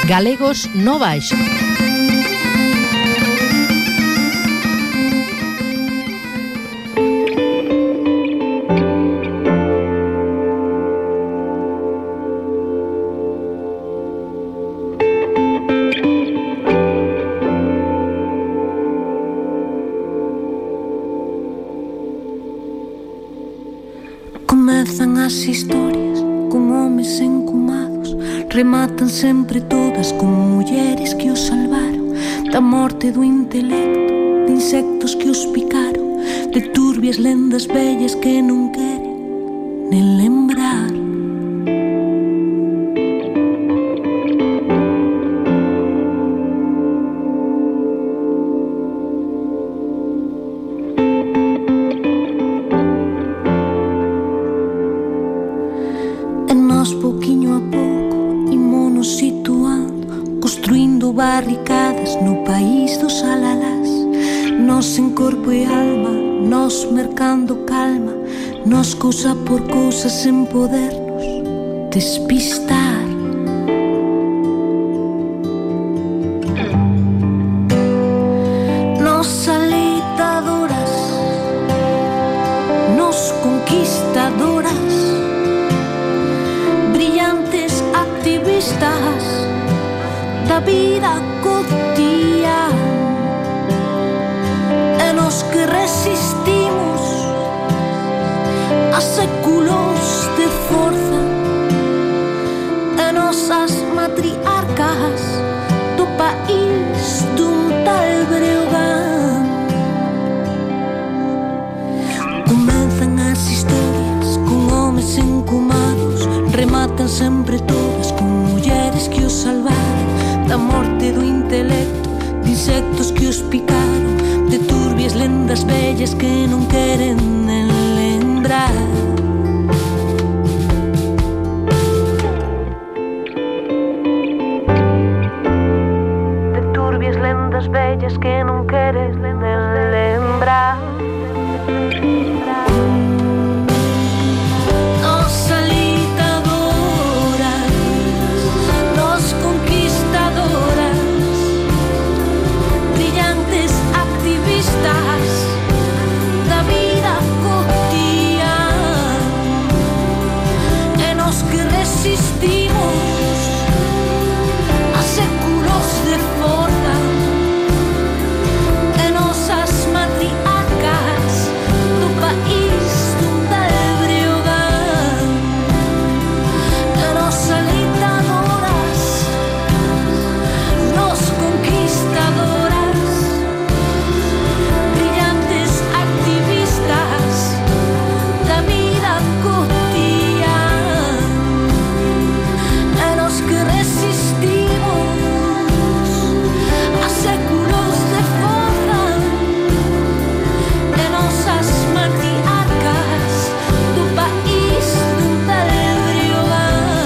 Galegos no Baixo. Comezan as historias con homes encumados, rematan sempre todas con mulleres que os salvaron da morte do intelecto, de insectos que os picaron, de turbias lendas vellas que non queren nen lembrar. Pouquiño a pouco imos situando, construindo barricadas no país dos alalás. Nós en corpo e alma, nós mercando calma, nós cousa por cousa sen podernos despistar. Nós alitadoras, nós conquistadoras, brillantes activistas da vida cotidiana, e nos que resistimos a séculos de forza, e nosas matriarcas do país dun tal Breogán. Comenzan as historias con homes encumados, rematan sempre todas con mulleres que os salvaron da morte do intelecto, de insectos que os picaron, de turbias lendas vellas que non queren nen lembrar. De turbias lendas vellas que non queren nen lembrar. Da vida cotidiana, e nos que resistimos a séculos de forza, e nosas matriarcas do país dun tal Breogán, e nos alentadoras, nos conquistadoras, da vida cotidiana, e nos que resistimos a séculos de forza, e nosas matriarcas do país dun tal Breogán.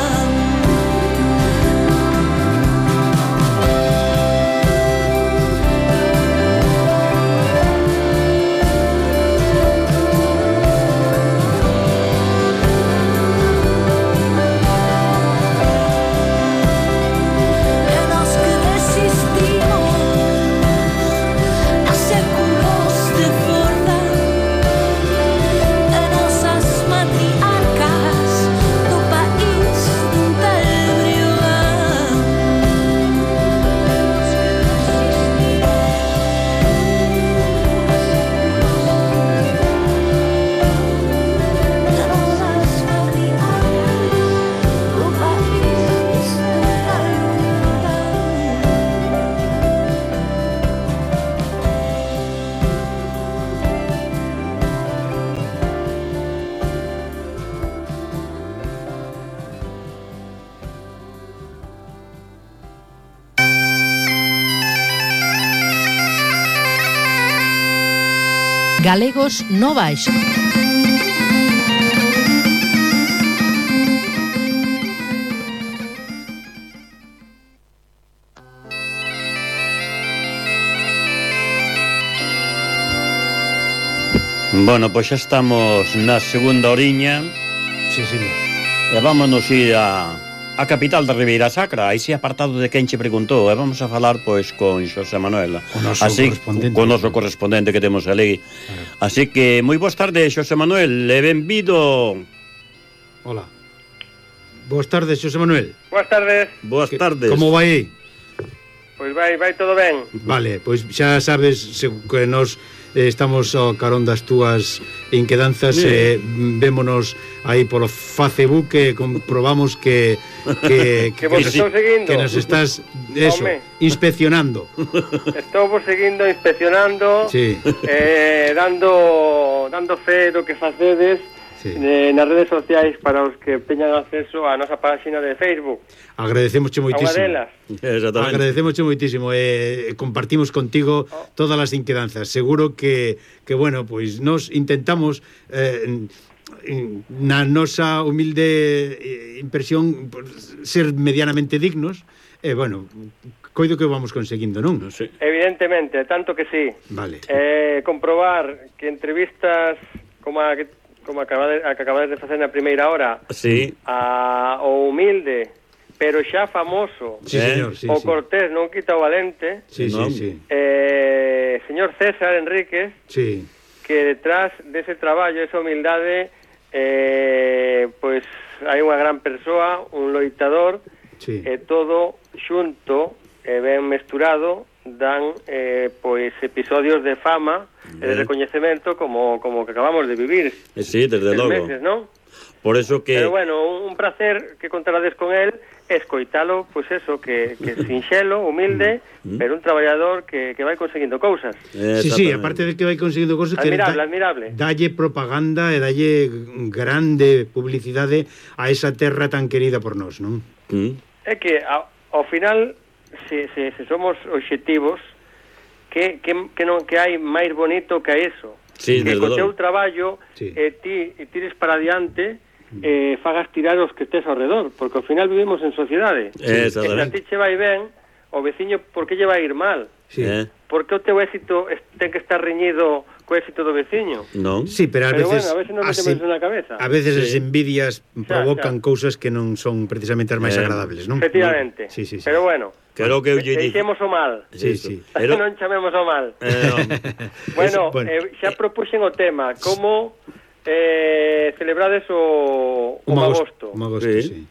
Galegos no Baixo. Bueno, pois xa estamos na segunda oriña. Sí, señor. E vámonos ir a a capital da Ribeira Sacra, aí si apartado de quen che preguntou, e vamos a falar pois con Xosé Manuel, con noso correspondente que temos ali. Así que moi boas tardes, Xosé Manuel, e benvido. Hola. Boas tardes, Xosé Manuel. Boas tardes. Boas tardes. Como vai aí? Pois vai todo ben. Vale, pois xa sabes que nos estamos ao carón das túas inquedanzas, vémonos aí polo Facebook e comprobamos que vos estou seguindo. Que nos estás inspeccionando. Estou vos seguindo, inspeccionando, sí. dando fe do que facedes. Sí. Nas redes sociais para os que teñan acceso á nosa página de Facebook. Agradecemosche moitísimo. Agradecemosche moitísimo e compartimos contigo todas as inquedanzas. Seguro que bueno, pois nos intentamos na nosa humilde impresión ser medianamente dignos e bueno, coido que vamos conseguindo, non? Sí. Evidentemente, tanto que sí. Vale. Comprobar que entrevistas como acabades de facer na primeira hora, sí. O humilde, pero xa famoso, sí, señor, sí, o Cortés non quita o valente, sí, sí. Señor César Enríquez, sí. Que detrás dese traballo, esa humildade, pois hai unha gran persoa, un loitador, sí. E todo xunto e ben mesturado dan pois episodios de fama e de recoñecemento como que acabamos de vivir. Sí, desde logo. Meses, ¿no? Por eso que... Pero bueno, un placer que contarades con él, escoitalo, pois eso, que sinxelo, humilde, pero un traballador que vai conseguindo cousas. Sí, aparte de que vai conseguindo cousas, admirable. Dalle propaganda e dalle grande publicidade a esa terra tan querida por nós, non? É que ao final se somos obxectivos que hai máis bonito que eso, sí, que co teu traballo sí. ti tires para adiante fagas tirar os que estés ao redor, porque ao final vivimos en sociedade, e se a ti che vai ben, o veciño por que lle vai ir mal? Sí. Porque o teu éxito ten que estar reñido co éxito do veciño. Non. Sí, pero a veces non metemos na cabeza. A veces as envidias provocan cousas que non son precisamente as máis agradables, non? Efectivamente. Sí. Pero bueno, creo que deixemos o mal. Sí. Pero non chamemos o mal. Bueno, xa propuxen o tema, como celebrades o Magosto. Sí.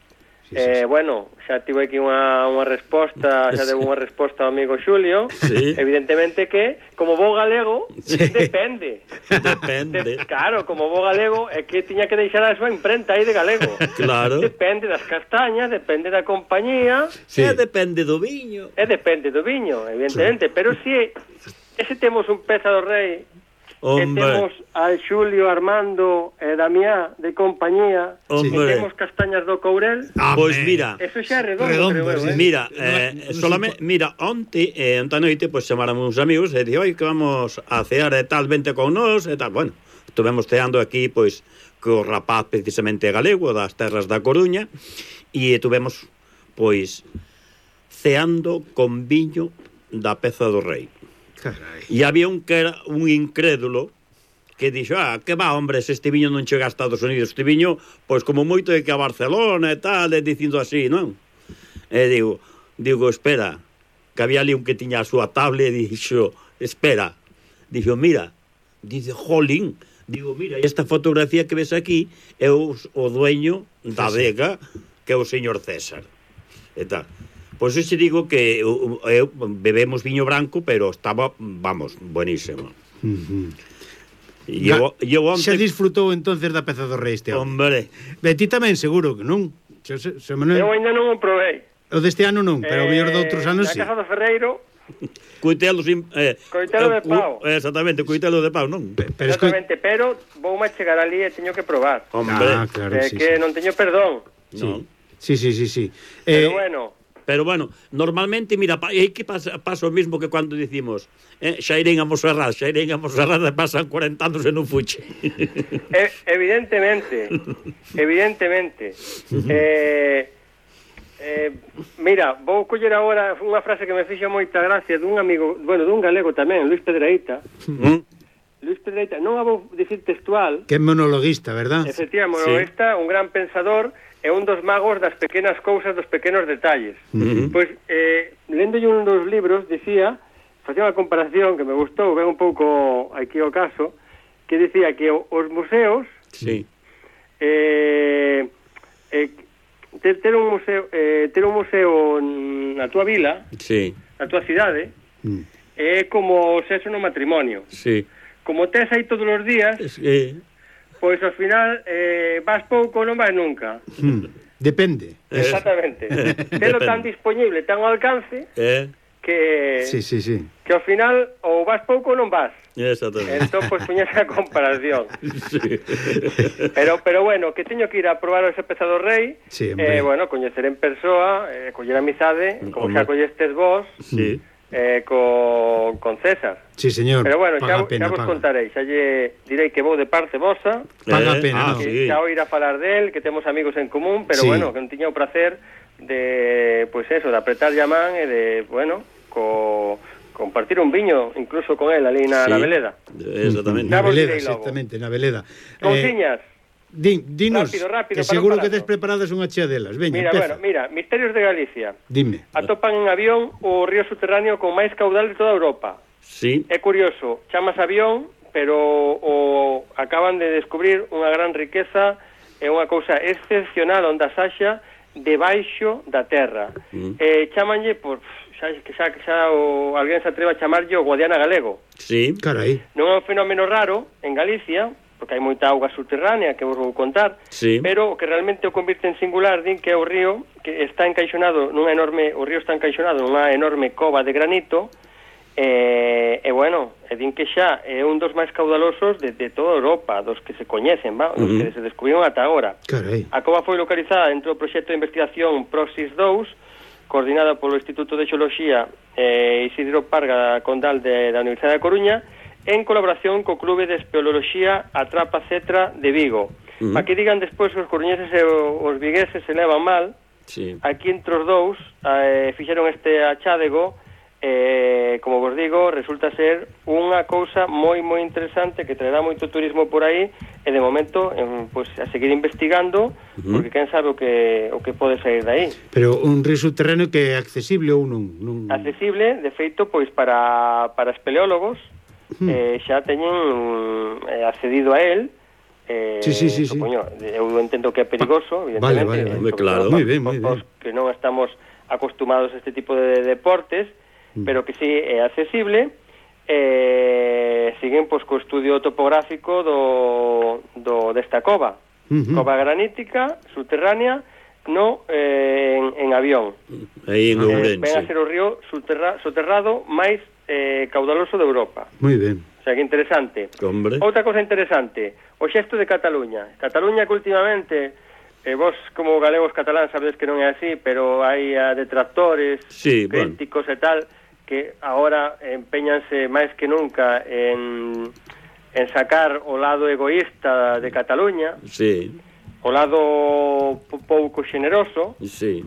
Bueno, xa tivo aquí unha resposta, xa deu unha resposta ao amigo Xulio. Sí. Evidentemente que, como bo galego, depende. Claro, como bo galego é que tiña que deixar a súa imprenta aí de galego. Claro. Depende das castañas, depende da compañía. Sí. Depende do viño. Depende do viño, evidentemente. Sí. Pero si ese temos un peza do rei, e temos al Xulio, Armando e Damián de compañía, e temos castañas do Courel, pois mira, eso xa é redondo, creo, mira, solamente, mira, onte noite, pois chamáramos uns amigos e dixo, oi, que vamos a cear e tal, vente con nós e tal, bueno, estuvemos ceando aquí, pois, co rapaz precisamente galego das terras da Coruña, e tuvemos, pois, ceando con viño da peza do rei. Carai. E había un que era un incrédulo que dixo, que va, hombre, se este viño non chega a Estados Unidos, este viño, pois como moito é que a Barcelona e tal, e dicindo así, non? E digo, espera, que había ali un que tiña a súa tablet e dixo, espera, dixo, mira, dice, jolín, digo, mira, esta fotografía que ves aquí é o dueño da adega, que é o señor César, e tal. Pois eu xe digo que bebemos viño branco, pero estaba, vamos, buenísimo. Xa disfrutou entonces da peza do rei este ano. Hombre. Ti tamén seguro que non. Eu ainda non o provei. O deste ano non, pero o mellor de outros anos sí. Na Casa do Ferreiro. Coitelo de pau. Exactamente, coitelo de pau, non? Exactamente, pero voume chegar ali e teño que probar. Hombre, claro, que non teño perdón. Sí. Pero bueno, normalmente, mira, é que pasa o mismo que cando dicimos xa irén a Monserrat e pasan 40 anos e non fuche. Evidentemente. Mira, vou coller agora unha frase que me fixa moita gracia dun amigo, bueno, dun galego tamén, Luis Pedreita, Luis Pedreita, non a vou dicir textual. Que é monologuista, verdad? Efectivamente, monologuista, un gran pensador e un dos magos das pequenas cousas, dos pequenos detalles. Pois, lendo un dos libros, dicía, facía unha comparación que me gustou, ven un pouco aquí o caso, que dicía que os museos ter un museo na túa vila, na túa cidade, é como o sexo no matrimonio. Como tes aí todos os días, pois ao final vas pouco, non vas nunca. Depende. Exactamente. Telo tan disponible, tan ao alcance, que que ao final ou vas pouco ou non vas. Exactamente. Entón, pois, puñase a comparación. Pero bueno, que teño que ir a probar ese peza do rei, bueno, coñecer en persoa, coller amizade, como xa collestes vos, con César. Sí, señor. Pero bueno, xa vos contarei, xa lle direi que vou de parte vosa. Paga pena, xa oír a falar del, que temos amigos en común, pero bueno, que non tiña o placer de, pois eso, de apretar a man e de, bueno, compartir un viño incluso con él ali na Veleda. Exactamente. Na Veleda, exactamente, na Veleda. Cousiñas. Dinos, rápido, que seguro que tes preparadas unha chea delas. Veña, mira, Misterios de Galicia. Dime. Atopan en avión o río subterráneo con máis caudal de toda Europa. Sí. É curioso, chamas avión, pero acaban de descubrir unha gran riqueza e unha cousa excepcional onde saxa debaixo da terra. Chamanlle por xa alguén se atreva a chamarlle o Guadiana galego. Sí. Carai. Non é un fenómeno raro en Galicia, porque hai moita auga subterránea que vos vou contar, pero o que realmente o convirte en singular din que é o río que está encaixonado nunha enorme cova de granito e bueno, din que xa é un dos máis caudalosos de toda Europa, dos que se coñecen, dos que se descubriron ata agora. Carai. A cova foi localizada dentro do proxecto de investigación Proxys 2, coordinada polo Instituto de Xeoloxía Isidro Parga Condal da Universidade da Coruña, en colaboración co Clube de Espeleoloxía Atrapa Cetra de Vigo. Para que digan despois os coruñeses e os vigueses se levan mal, aquí entre os dous fixeron este achádego, como vos digo, resulta ser unha cousa moi interesante que traerá moito turismo por aí e de momento pues, a seguir investigando, porque quen sabe o que pode sair de aí. Pero un río subterráneo que é accesible ou non? Accesible, de feito, pois para espeleólogos, xa teñen accedido a él. Supoño, eu entendo que é perigoso, evidentemente. Vale, claro, moi ben. Que non estamos acostumados a este tipo de deportes, pero que sí é accesible. Siguen pois co estudio topográfico desta cova. Cova granítica, subterránea, en avión. Aí en Ourense. Ven a ser o río soterrado máis caudaloso de Europa. Moi ben. O sea, que interesante. Hombre. Outra cosa interesante, o xesto de Cataluña. Cataluña que últimamente, vos como galegos catalán sabedes que non é así, pero hai detractores, críticos e tal, que agora empeñanse máis que nunca en sacar o lado egoísta de Cataluña. O lado pouco xeneroso,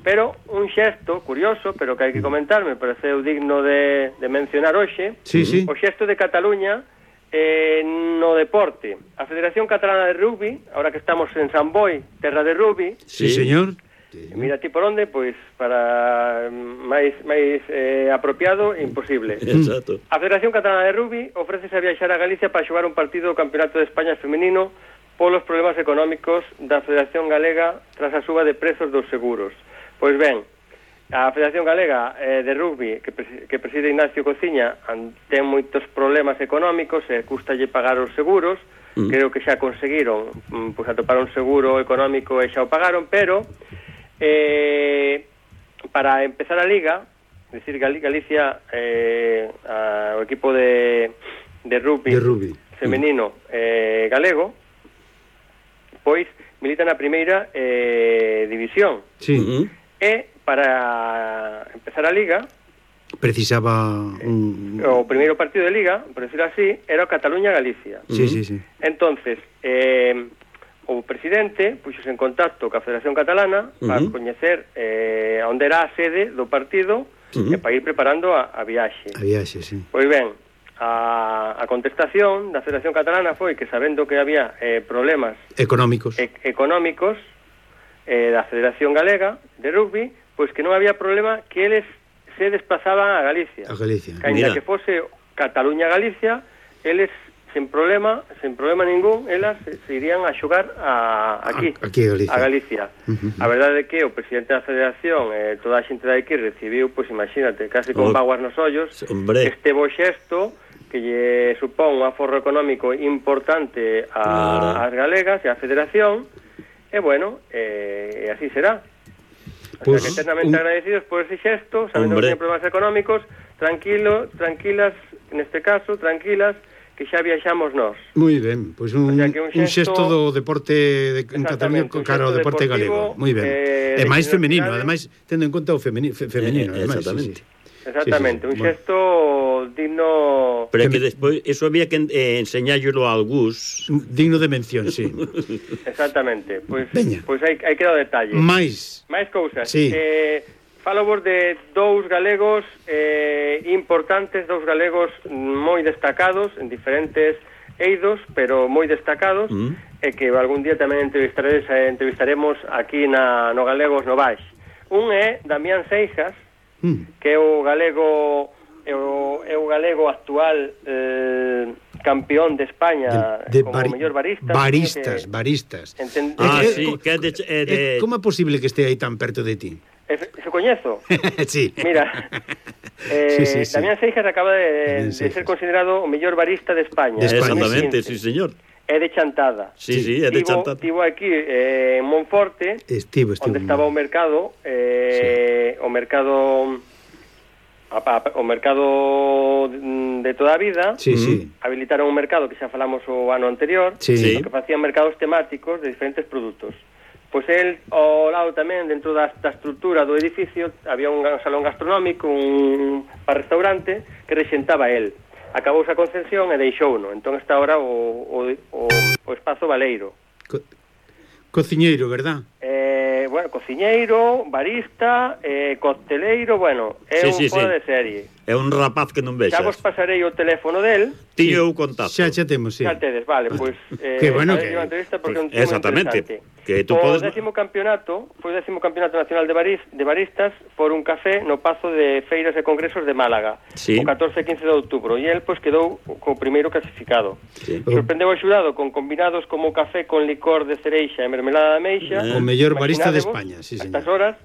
pero un xesto curioso, pero que hai que comentar, me pareceu digno de mencionar hoxe, o xesto de Cataluña no deporte. A Federación Catalana de Rugby, ahora que estamos en San Boi, terra de rugby, señor. Mira ti por onde, pois para máis apropiado, imposible. Exacto. A Federación Catalana de Rugby ofrécese a viaxar a Galicia para xogar un partido do Campeonato de España femenino polos problemas económicos da Federación Galega tras a suba de prezos dos seguros. Pois ben, a Federación Galega de Rugby, que preside Ignacio Cociña, ten moitos problemas económicos e custalle pagar os seguros. Creo que xa conseguiron pois atopar un seguro económico e xa o pagaron, pero para empezar a liga, es decir, Galicia, o equipo de rugby femenino galego, pois milita na primeira división. E para empezar a liga precisaba o primeiro partido de liga, por decirlo así, era o Cataluña-Galicia. Entonces, o presidente puxose en contacto ca Federación Catalana para coñecer onde era a sede do partido e para ir preparando a viaxe. A viaxe, sí. Pois ben, a contestación da Federación Catalana foi que, sabendo que había problemas económicos da Federación Galega de Rugby, pois que non había problema que eles se desplazaban a Galicia. Ainda que fose Cataluña-Galicia, eles sen problema ningún, elas se irían a xogar aquí a Galicia. A verdade é que o presidente da Federación toda a xente de aquí recibiu, pois imagínate, casi con vaguas nos ollos, este bo xesto que lle supón un aforro económico importante ás galegas e á Federación, e bueno, así será. O sea, que eternamente agradecidos por ese xesto, sabendo que ten problemas económicos, tranquilas, neste caso, tranquilas, que xa viaxamos nós. Moi ben, pois un xesto do deporte en Cataluña cara ao deporte galego. Moi ben. E máis femenino, ademais, tendo en conta o femenino, Exactamente, un xesto digno... Pero que despois, eso había que enseñállelo a algús. Digno de mención, sí. Exactamente, pois hai que dar detalle. Máis cousas. Sí. Falo vos de dous galegos importantes, dous galegos moi destacados en diferentes eidos, pero moi destacados, e que algún día tamén entrevistaremos aquí no Galegos no Baix. Un é Damián Seijas, que é o galego actual campeón de España como mellor barista. Baristas. Sí, que como é posible que este aí tan perto de ti? Se coñezo. Sí. Mira, Damián Seijas acaba de ser considerado o mellor barista de España. Exactamente, sí, señor. É de Chantada. Sí, é de Chantada. Estivo aquí en Monforte, onde estaba o mercado, o mercado de toda a vida. Habilitaron un mercado que xa falamos o ano anterior, que facían mercados temáticos de diferentes produtos. Pois el, ao lado tamén, dentro da estrutura do edificio, había un salón gastronómico, un restaurante que rexentaba el. Acabouse a concesión e deixouno. Entón está ahora o espazo Baleiro. Cociñeiro, verdad? Bueno, cociñeiro, barista, cocteleiro, bueno, é un fora de serie. É un rapaz que non vexas. Xa vos pasarei o teléfono del. Tío o contacto. Xa temos, sí. Xa tedes, vale, pois que bueno que exactamente. Que tú podes... O 10º campeonato, foi o 10º campeonato nacional de baristas por un café no Pazo de Feiras e Congresos de Málaga, o 14 e 15 de outubro, e el pois quedou co primeiro clasificado. Sorprendeu o xurado con combinados como café con licor de cereixa e mermelada de ameixa. O mellor barista de España, sí, señor. Estas horas,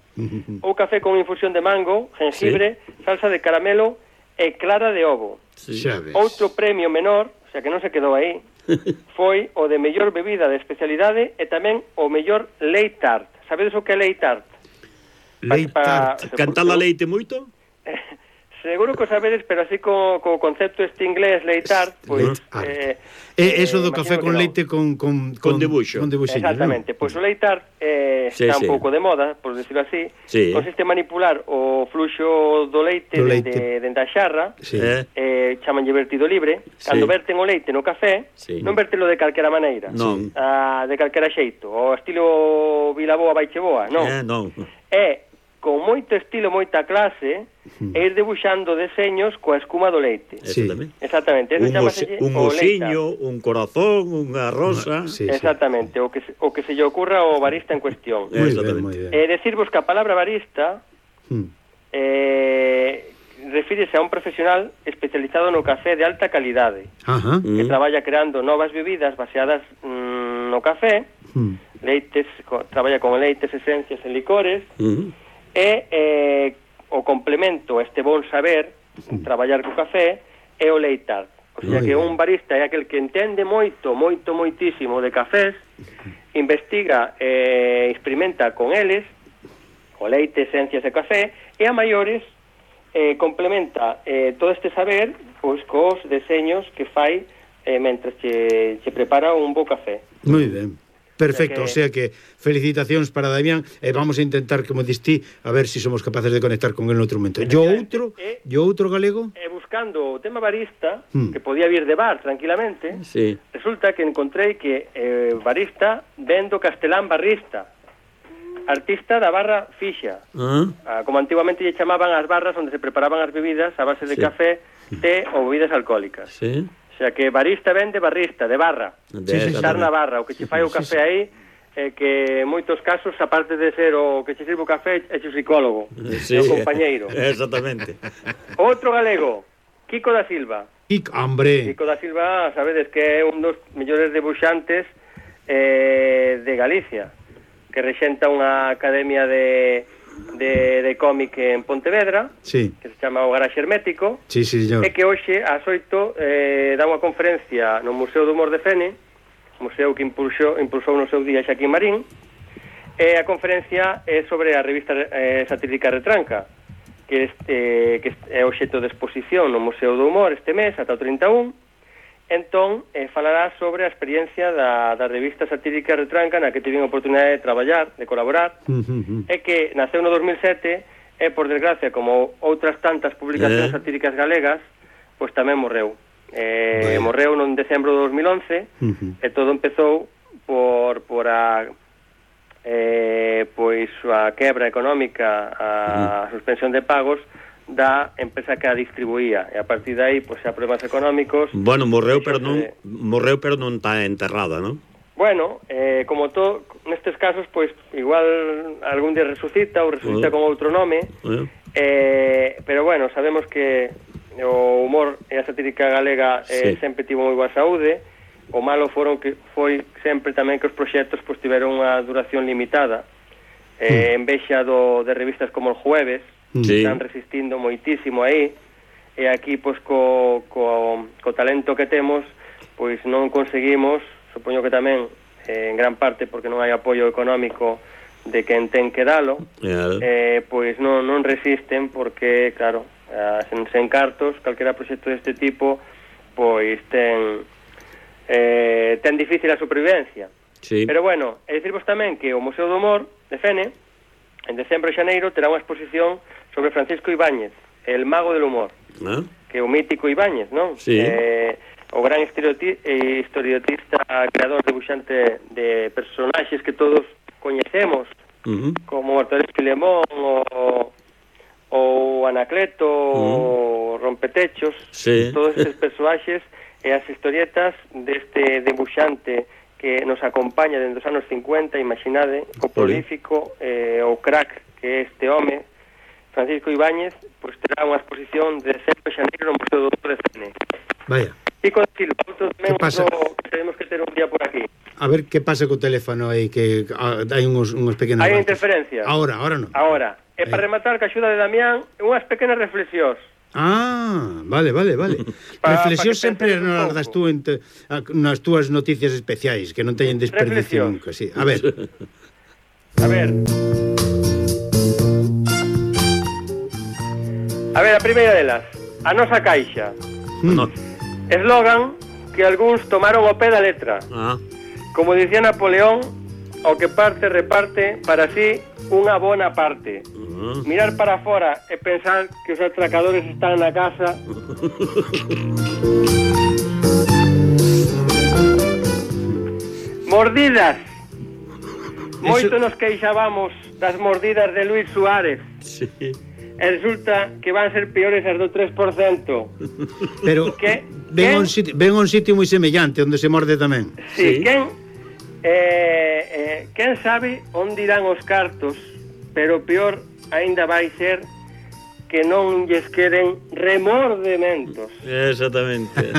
ou café con infusión de mango, jengibre, salsa de caramelo e clara de ovo. Outro premio menor, o sea que non se quedou aí, foi o de mellor bebida de especialidade e tamén o mellor leite tart. Sabedes o que é leite tart? Leite tart. Cantar a leite moito? Seguro que o sabedes, pero así co concepto este inglés leite tart, pois eso do café con leite con debuxo. Exactamente, pois o leite tart está un pouco de moda, por decirlo así. Consiste en manipular o fluxo do leite dende a xarra, chamanlle vertido libre. Cando verten o leite no café, non vertelo de calquera maneira, de calquera xeito, o estilo Vilaboa Baicheboa, non. É con moito estilo, moita clase, e ir debuxando deseños coa escuma do leite. Exactamente. Un osiño, un corazón, unha rosa. Exactamente, o que se lle ocurra ao barista en cuestión. Decirvos que a palabra barista refírese a un profesional especializado no café de alta calidade, que traballa creando novas bebidas baseadas no café, traballa con leites, esencias e licores, e o complemento a este bon saber traballar co café é o leite tart. O sea que un barista é aquel que entende moitísimo de cafés, investiga e experimenta con eles o leite, esencias e café, e a maiores complementa todo este saber pois cos deseños que fai mentre che prepara un bo café. Moi ben. Perfecto, o sea que felicitacións para Damián e vamos a intentar, como distí, a ver se somos capaces de conectar con el no outro momento. Yo outro galego? Buscando o tema barista, que podía vir de bar tranquilamente, resulta que encontrei que barista vendo castelán barrista. artista da barra fixa. Como antiguamente lle chamaban as barras onde se preparaban as bebidas a base de café, té ou bebidas alcohólicas. Sí. O sea que barista vende barrista, de barra. Estar na barra, o que che fai o café aí, que en moitos casos, aparte de ser o que che sirve o café, é o psicólogo, o compañeiro. Exactamente. Outro galego, Kiko da Silva. Hombre. Kiko da Silva, sabedes que é un dos mellores debuxantes de Galicia, que rexenta unha academia de cómic en Pontevedra, que se chama o Garaxe Hermético, e que hoxe ás 8 dá unha conferencia no Museo do Humor de Fene, museo que impulsou no seu día Xaquín Marín, e a conferencia é sobre a revista satírica Retranca, que é obxecto de exposición no Museo do Humor este mes, ata o 31. Entón, falará sobre a experiencia da revista satírica Retranca, na que tive a oportunidade de traballar, de colaborar, e que naceu no 2007, e, por desgracia, como outras tantas publicacións satíricas galegas, pois tamén morreu. Morreu no decembro de 2011, e todo empezou por a quebra económica, a suspensión de pagos da empresa que a distribuía, e a partir de aí, pois, a problemas económicos. Bueno, morreu, pero non está enterrada, non? Bueno, como todo, nestes casos, pois, igual algún día resucita ou resucita con outro nome, pero bueno, sabemos que o humor e a satírica galega sempre tivo moi boa saúde. O malo foi sempre tamén que os proxectos pois tiveron unha duración limitada, en vexa de revistas como El Jueves, están resistindo moitísimo aí, e aquí pois co talento que temos, pois non conseguimos, supoño que tamén en gran parte porque non hai apoio económico de quen ten que dalo, pois non resisten, porque claro, sen cartos, calquera proxecto deste tipo pois ten difícil a supervivencia. Pero bueno, é dicirvos tamén que o Museo do Humor de Fene en decembro e xaneiro terá unha exposición sobre Francisco Ibáñez, el mago del humor, que é o mítico Ibáñez, non? O gran historietista, creador, debuxante de personaxes que todos coñecemos, como Mortadelo y Filemón, o Anacleto, o Rompetechos, todos estes personaxes e as historietas deste debuxante que nos acompaña dentro dos anos 50, imaginade, o prolífico, o crack que é este home, Francisco Ibáñez, pois terá unha exposición de decembro e xaneiro no Museo do Humor de Fene. Vaya. Kiko da Silva, outro tamén que tenemos que ter un día por aquí. A ver que pasa co teléfono aí, que hai uns pequenos... Hai interferencias. Ahora non. Ahora. E para rematar, que axuda de Damián, unhas pequenas reflexións. Vale. Reflexións sempre nos das tú nas túas noticias especiais, que non teñen desperdicio nunca, sí. A ver. A ver, a primeira delas, a nosa caixa. Eslogan que algúns tomaron o pé da letra. Como dicía Napoleón, o que parte reparte para sí unha bona parte. Mirar para fora e pensar que os atracadores están na casa. Mordidas. Moito nos queixábamos das mordidas de Luis Suárez. E resulta que van ser peores as do 3%. Pero ven a un sitio moi semellante onde se morde tamén. Quen sabe onde irán os cartos, pero peor aínda vai ser que non lles queden remordementos. Exactamente.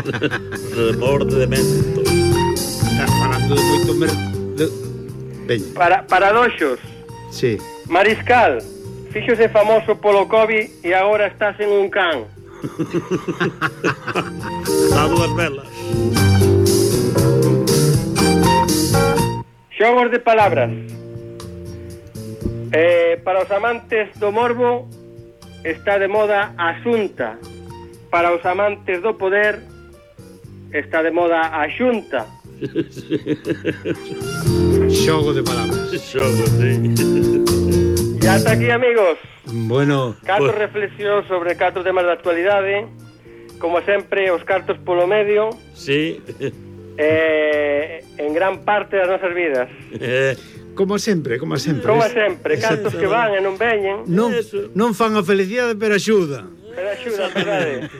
Remordementos. Estás falando de moito paradoxos. Sí. Mariscal, fíxose famoso polo COVID e agora estás en un can. Dá dúas velas. Xogos de palabras. Para os amantes do morbo está de moda a xunta. Para os amantes do poder está de moda a xunta. Xogo de palabras. Xogo, sí. E hasta aquí, amigos. Bueno, 4 reflexións sobre 4 temas de actualidade. Como sempre, os cartos polo medio. Sí. En gran parte das nosas vidas. Como sempre. Como sempre, cantos que van e non veñen. Non fan a felicidade, pero axuda. Verdade.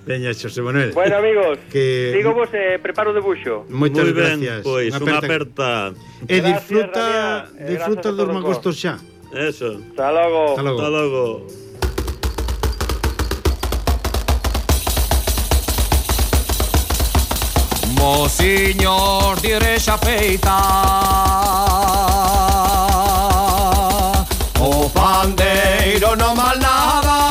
Veña, Xosé Manuel. Bueno, amigos, digo vos preparo o debuxo. Moitas gracias. Pois, unha aperta. E disfruta dos mangostos xa. Eso. Hasta logo. Hasta logo. Mociños de Igrexa feita, o pandeiro non mal nada.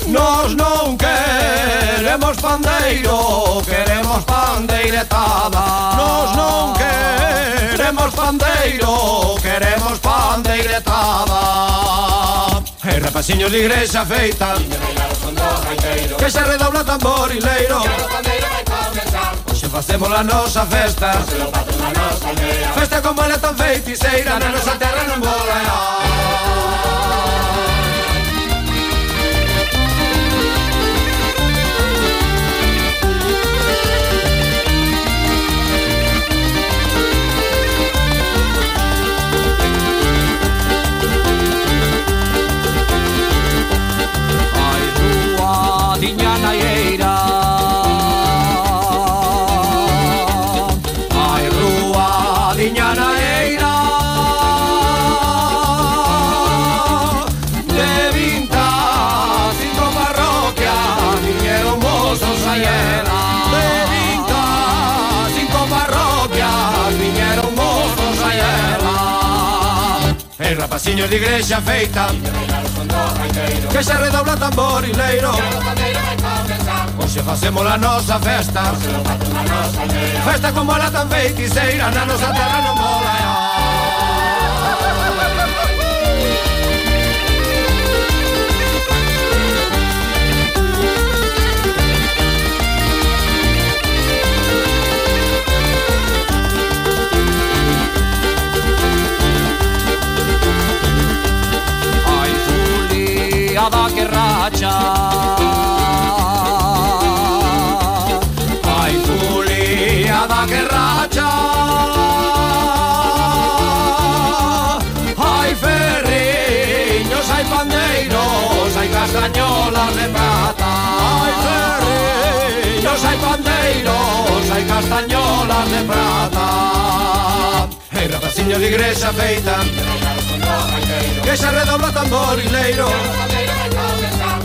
Nos non queremos pandeiro, queremos pandeiretada. Nos non queremos pandeiro, queremos pandeiretada. E rapaciños de Igrexa feita, que se redobla tamborileiro, hoxe facemos a nosa festa, festa como ela tan feiticeira, na nosa terra non vola. Diña na eira, ai rúa, diña na eira, de 25 parroquias viñeron mozos a ela. De 25 parroquias viñeron mozos a ela. E rapaciños de Igrexa feita, que se redobla tamborileiro, hoxe facemos a nosa festa, festa como ela tan feiticeira, na nosa terra non mola. Da que racha, ai fuliada que racha, ai ferriños, ai pandeiros, ai castañolas de prata. Ai ferriños, ai pandeiros, ai castañolas de prata. E rapaciños de Igrexa feita, que se redobla tamborileiro,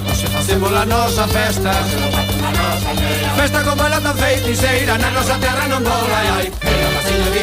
hoxe facemos a nosa festa, festa como ela tan feiticeira, na nosa terra non vola. Ai, rapaciños de